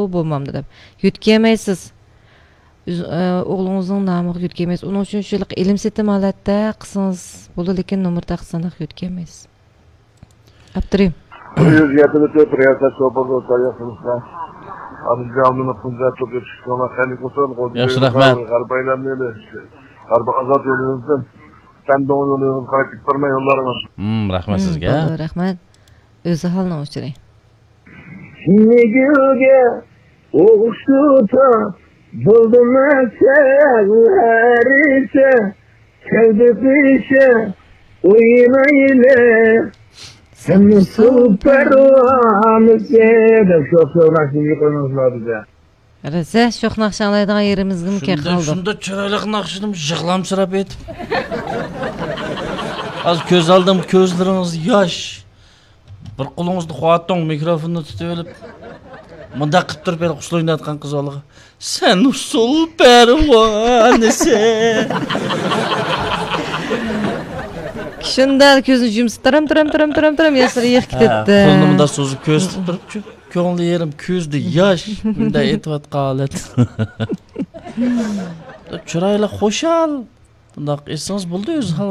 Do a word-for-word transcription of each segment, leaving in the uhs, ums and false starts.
بولمامدۇ دەپ. يۆتكىيەلمەيسىز. ئۆز-، ئە، ئوغلىڭىزنىڭ نامىغا يۆتكىيەلمەيسىز. ئۇنىڭ ئۈچۈن شۇ ھېلىقى ئېلىم سېتىم ھالەتتە قىلسىڭىز بولىدۇ، لېكىن نومۇر تاقىسىنى يۆتكىيەلمەيسىز. ئاپتىرىم. يۈز يەتمىش تۆت رىياسەت شوپۇرلۇق تارىخىمىزدا. ئابدۇجامىل قۇنجا توپ يېتىشكىڭلار خەيرلىك بولسۇن. ياخشى، رەھمەت. غەرب ئايلانمىلى. غەرب ئازاد يولىمىزدىن. سەندۇڭ يولىمىزغا قاراپ كېتىپ بارماي يوللارمىز. ھىم، رەھمەت سىزگە. بولدى، رەھمەت. ئۆزى ھالنىڭ ئۇچۇرى. نېگىلگە ئوخشىتا بولدىم سەن ھەرىسە، كەلدى قىشە ئوينايلى، سەن ئۇسسۇل پەرۋانىسى دەپ شوخ شوخ ناخشىنى قويماڭلار بىزگە. رەزە، شوخ ناخشا ئاڭلايدىغان يېرىمىزگىمۇ كەل قالدۇق. شۇنداق چىرايلىق ناخشىنىمۇ يىغلامسىراپ ئېيتىپ. ھازىر كۆز ئالدىم، كۆزلىرىڭىز ياش. بىر قولىڭىزدا خۇاتوڭ مىكروفوننى تۇتۇۋېلىپ، مۇنداق قىلىپ تۇرۇپ، ھېلىقى ئۇسسۇل ئويناۋاتقان قىز بالىغا، سەن ئۇسسۇل پەرۋانىسى. شۇنداق كۆزىنى يۇمسا، تىرىم، تىرىم، تىرىم، تىرىم، تىرىم، ياشلىرى يىغىپ ھە، كېتەتتى. قولىنى مۇنداق سوزۇپ كۆرسىتىپ تۇرۇپ، كۆڭلى يېرىم، كۆزىدە ياش، مۇنداق ئېيتىۋاتقان ھالەت. چىرايلىق، خۇشال. بۇنداق ئېيتسىڭىز بولدى، ئۆزى ھال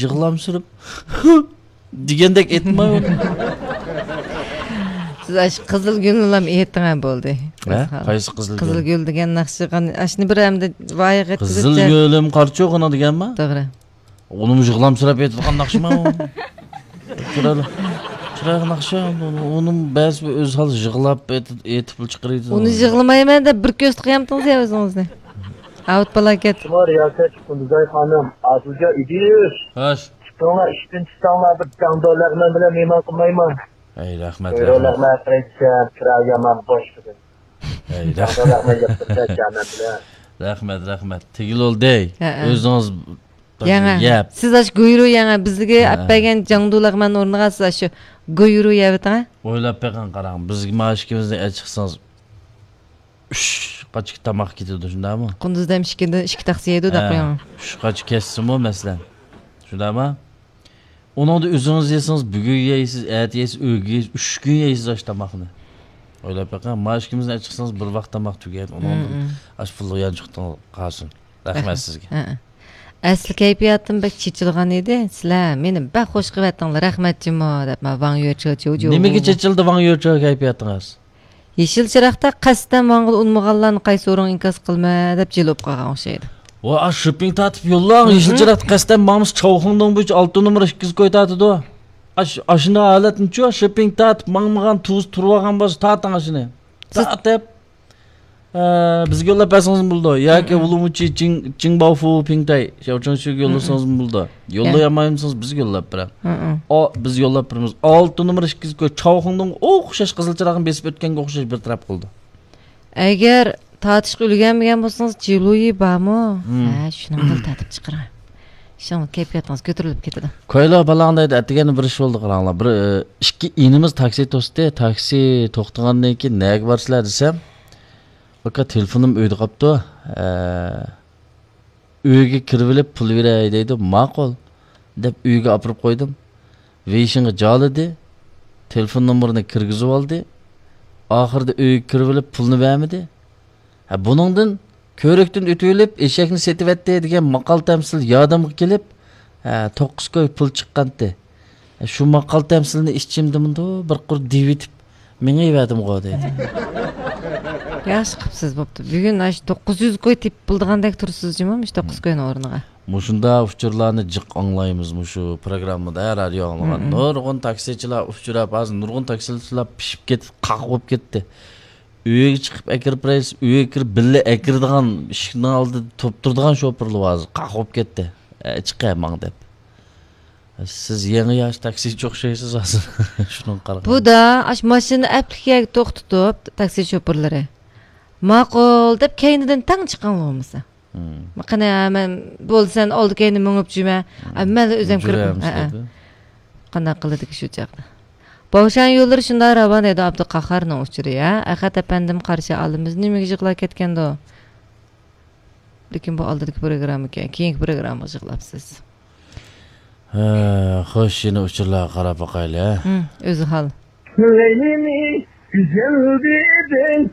يىغلامسىراپ دېگەندەك ئېيتماي ئۇنى. سىز ئاشۇ قىزىل گۈلنىلا ئېيتىڭە بولدى. ھە؟ قايسى قىزىل گۈل؟ قىزىل گۈل دېگەن ناخشىغا ئاشۇنى بىر ئەمدى ۋايىغا قىزىل گۈلۈم قارچۇغىنا دېگەنما؟ توغرا. ئۇنىمۇ يىغلامسىراپ ئېيتىدىغان ناخشىما ئۇ؟ چىرايلىق، چىرايلىق ناخشا. ئۇنىمۇ بەزى ئۆزى ھال يىغلاپ ئېيتىپ، ئېيتىپلا چىقىرىدۇ. ئۇنى يىغلىمايمەن دەپ بىر كۆرسىتىپ قويامتىڭىز يا ئۆزىڭىزنى؟ ئاۋۇت پالاكەت. شۇڭا رىياسەتچى قۇندۇزاي خانىم، ئادىلجان ئىدىش. خوش. چىقىڭلار، ئىشتىن چىقساڭلار، بىر جاڭدۇ لەغمەن بىلەن مېھمان قىلمايمەن. ئەي، رەھمەت، بۇيرۇڭ، رەھمەت. لەغمەن قىلىشسەن، كىرا يامان بوش بۈگۈن. ئەي، جاڭدۇ رەھمەت. لەغمەن يەپ تۇرسا، جانان بىلەن. رەھمەت، رەھمەت. تېگىلى بولدى. ھەئە. ئۆزىڭىز يەڭە. يەپ. سىز ئاشۇ گۇيرۇ يەڭە، بىزگە ھە. ئەپ بەرگەن جاڭدۇ لەغمەن ئورنىغا سىز ئاشۇ گۇيرۇ يەۋېتىڭە. ئويلاپ بېقىڭ، قاراڭ. بىزگە مائاش ئىككىمىزنى ئەچىقسىڭىز، ئۈچ قاچىكى تاماق كېتىدۇ، شۇنداقمۇ؟ قۇندۇزدىن ئىككىدىن ئىككى تەخسە يەيدۇ دەپ ھە، قويۇڭ. ئۈچ قاچا كەتسىمۇ، مەسىلەن. شۇنداقمۇ؟ ئۇنىڭدا ئۆزىڭىز يېسىڭىز، بۈگۈن يەيسىز، ئەتە يەيسىز، ئۆگۈن يەيسىز، ئۈچ كۈن يەيسىز ئاشۇ تاماقنى. ئويلاپ بېقىڭ، مائاش ئىككىمىزنى ئەچىقسىڭىز، بىر ۋاق تاماق تۈگەيدۇ. ئۇنىڭدىن مم، مم. ئاشۇ پۇللۇق يانچۇقتىڭىز قالسۇن. رەھمەت سىزگە. ھە، ھە. ئەسلى كەيپىياتىم بەك چېچىلغان ئىدى. سىلەر مېنى بەك خوش قىلىۋەتتىڭلار، رەھمەت جۇمۇ دەپ، مانا ۋاڭ يۆچو، جۇ، جۇ، نېمىگە ۋۇ، ۋۇ. چېچىلدى ۋاڭ يۆچو كەيپىياتىڭىز؟ يېشىل چىراغدا قەستەن ماڭغىلى ئۇنىمىغانلارنى قايسى ئورۇنغا ئىنكاس قىلىمەن دەپ جىلىۋۇپ قالغان ئوخشايدۇ. ۋا، ئاشۇ شىپىڭ تارتىپ يوللاڭ، يېشىل مھم. چىراغدا قەستەن ماڭمىسا، چاۋخۇڭدۇڭ بويىچە ئالتە نومۇر ئىككىز كوي تارتىدۇ. ئاش-، ئاشۇنداق ھالەتنىچۇ، شىپىڭ تارتىپ ماڭمىغان تۇز تۇرۇۋالغان بولسا، تارتىڭ ئاشۇنى. سىز تارتىپ. ئە، بىزگە يوللاپ بەرسىڭىزمۇ بولىدۇ. ياكى مم. ئۇلۇمۇچى چىڭ، چىڭباۋفۇ پىڭتەي، شياۋچىڭشۈگە يوللىسىڭىزمۇ بولىدۇ. يوللىيالمايمىسىڭىز بىزگە يوللاپ بېرىڭ. مم. ئو، بىز يوللاپ بېرىمىز. ئالتە نومۇر ئىككى يۈز كوي، چاۋخۇڭدىڭ ئوخشاش قىزىل چىراغنى بېسىپ ئۆتكەنگە ئوخشاش بىر تەرەپ قىلىدۇ. ئەگەر تارتىشقا ئۈلگەرمىگەن بولسىڭىز، جىلۇيى بارمۇ؟ مم. ھە، شۇنىڭ بىلەن تارتىپ چىقىرىڭ. شۇنىڭ كەيپىياتىڭىز كۆتۈرۈلۈپ كېتىدۇ. كويلا بالاڭ دەيدۇ، ئەتىگەندە بىر ئىش بولدى، قاراڭلار. بىر، ئى، ئىككى ئىنىمىز تاكسى توستى. تاكسى توختىغاندىن كېيىن، نەگە بارىسىلەر دېسەم، ئاكا، تېلېفونۇم ئۆيدە قاپتۇ. ئە، ئۆيگە كىرىۋېلىپ پۇل بېرەي دەيدۇ. ماقۇل، دەپ ئۆيگە ئاپىرىپ قويدۇم. ۋېيشىنغا جالىدى. تېلېفون نومۇرىنى كىرگۈزۈۋالدى. ئاخىرىدا ئۆيگە كىرىۋېلىپ پۇلنى بەرمىدى. ھە، بۇنىڭدىن كۆۋرۈكتىن ئۆتۈۋېلىپ ئېشەكنى سېتىۋەتتى دېگەن ماقال تەمسىل يادىمغا كېلىپ، ھە، توققۇز كوي پۇل چىققانتى. ھە، شۇ ماقال تەمسىلنى ئىچىمدە مۇنداق بىر قۇر دېۋىتىپ مېڭىۋەردىمغۇ دەيدۇ. ياخشى قىپسىز، بوپتۇ. بۈگۈن ئاشۇ توققۇز يۈز كوي تېپىپ بولىدىغاندەك تۇرىسىز جۇمۇ، مۇشۇ توققۇز كوينىڭ ئورنىغا. مۇشۇنداق ئۇچۇرلارنى جىق ئاڭلايمىز مۇشۇ پروگراممىدا، ھە، رادىيو ئاڭلىغان. مم. نۇرغۇن تاكسىچىلار ئۇچراپ، ھازىر نۇرغۇن تاكسىچىلار پىشىپ كېتىپ، قاق بولۇپ كەتتى. ئۆيگە چىقىپ ئەكىرىپ بېرەيسىز، ئۆيگە كىرىپ بىللە ئەكىرىدىغان ئىشىكنىڭ ئالدىدا تۇرۇپ تۇرىدىغان شوپۇرلار ھازىر قاق بولۇپ كەتتى. ئە، چىقە ماڭ دەپ. سىز يېڭى ياش تاكسىچى ئوخشايسىز ھازىر. شۇنىڭغا قارىغاندا. بۇ دا، ئاش ماشىنىنى ئەپلىك يەرگە توختىتىپ، تاكسى شوپۇرلىرى، ماقۇل دەپ كەينىدىن تەڭ چىقىڭ بولمىسا. مم. قېنى، مەن بولدى، سەن ئالدى كەينى مېڭىپ جۈمە. مم. ئە، مەنلا ئۆزۈم كىرىپ. مۇجرەم ئە، ئە. سىلەردە. قانداق قىلىدىكى شۇ چاغدا؟ باۋشان يوللىرى شۇنداق راۋان ئىدى، ئابدۇقاھارنىڭ ئۇچۇرى، ھە؟ ئەخەت ئەپەندىم قارشى ئالىمىز نېمىگە يىغلاپ كەتكەندۇ؟ لېكىن بۇ ئالدىدىكى پروگرامما ئىكەن، كېيىنكى پروگراممىغا يىغلاپسىز. ھە، خوش، يەنە ئۇچۇرلارغا قاراپ باقايلى، ھە؟ ھىم، ئۆزى ھال. لەيلىنى گۈزەل دېدىڭ،